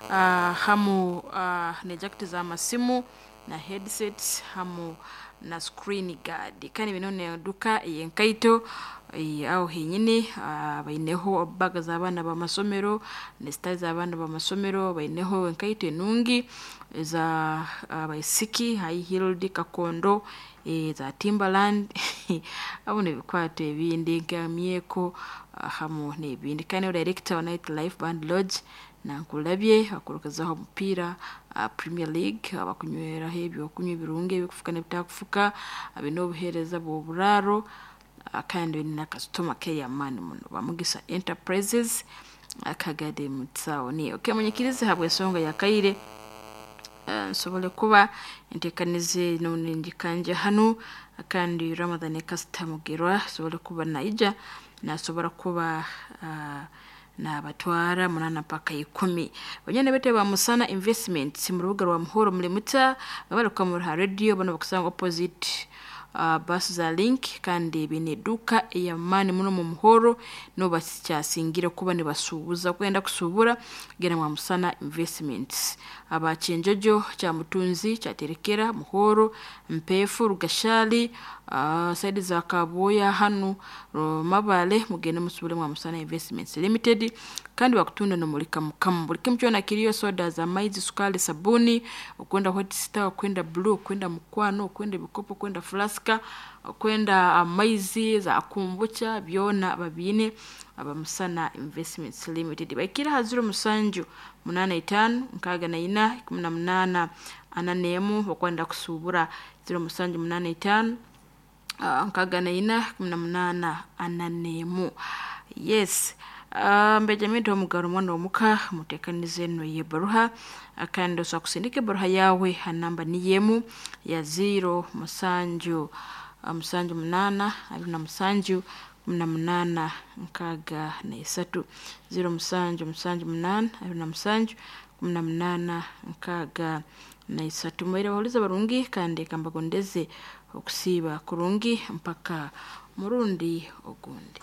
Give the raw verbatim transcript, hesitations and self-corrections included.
uh, hamu uh, ne jaketi z'amasimu na headsets hamu na screen guard. Kandi bino neduka eyenkaito eh, aho henyini uh, baineho baga z'abaana b'amasomero ne sitayiro z'abaana b'amasomero, baineho enkaito enungi eza abaisiki, high heeled, kakondo, eh, za Timberland hamu n'ebikwato ebindi nka myeko hamu n'ebindi. Kandi niwe director wa Night Life Band Lodge nankulabye akurukizaho omupiira uh, Premier League, abakunyweraho ebyokunywa ebirungi ebikufuka n'ebitakufuka, biine obuheereza bw'oburaaro uh, kandi baine na customer care y'amaani muno. Bamugisa Enterprises akagade mutawuni. Okay, munyikirize habw'ensonga y'akaire uh, nsobole kuba nteekanize ningikanja hanu, kandi Ramadhan Kasita Mugerwa asobole kuba naija nasobora kuba uh, nabatwara munana paka ikumi. Banyana bete ba Musana Investments mu rubuga rwa Muhoro mulimuta babaruka mu ha radio bano bakusanga opposite uh, bus za Link, kandi bine eduka ey'amaani muno mu Muhoro no bakyasingire kuba nibasuubuza kwenda kusubura genda mwa Musana Investments. Aba Kyenjojo kya Mutunzi kyaterekera Muhoro, Mpefu, Rugashali, uh, saidi za Kaboya hanu Mabale, mugende musubule mwa Musana Investments Limited. Kandi bakutunda nomuli kamukamu buli kimu kyona kiriyo, soda za maizi, sukali, sabuni, okwenda White Star, okwenda Blue, okwenda Mukwano, okwenda ebikopo, okwenda flaska, okwenda amaizi za kombucha, byona babiine aba Musana Investments Limited. Baikira ha ziro musanju munana itaano nkaaga na ina ikumi na munaana ana n'emu okwenda kusubura, ziro musanju munana itaano uh, nkaaga na ina ikumi na munaana ana n'emu. Yes, uh, Benjamin Omugaro omwana omuka muteekanize eno y'ebbaruha, kandi osobola kusindika ebbaruha yaawe ha namba niyo emu ya ziro musanju musanju munaana abiri na musanju kumi na munaana nkaaga na isatu, ziro musanju musanju munaana abiri na musanju kumi na munaana nkaaga na isatu. Mubaire bahuliza barungi kandi kambagondeze okusiiba kurungi mpaka murundi ogundi.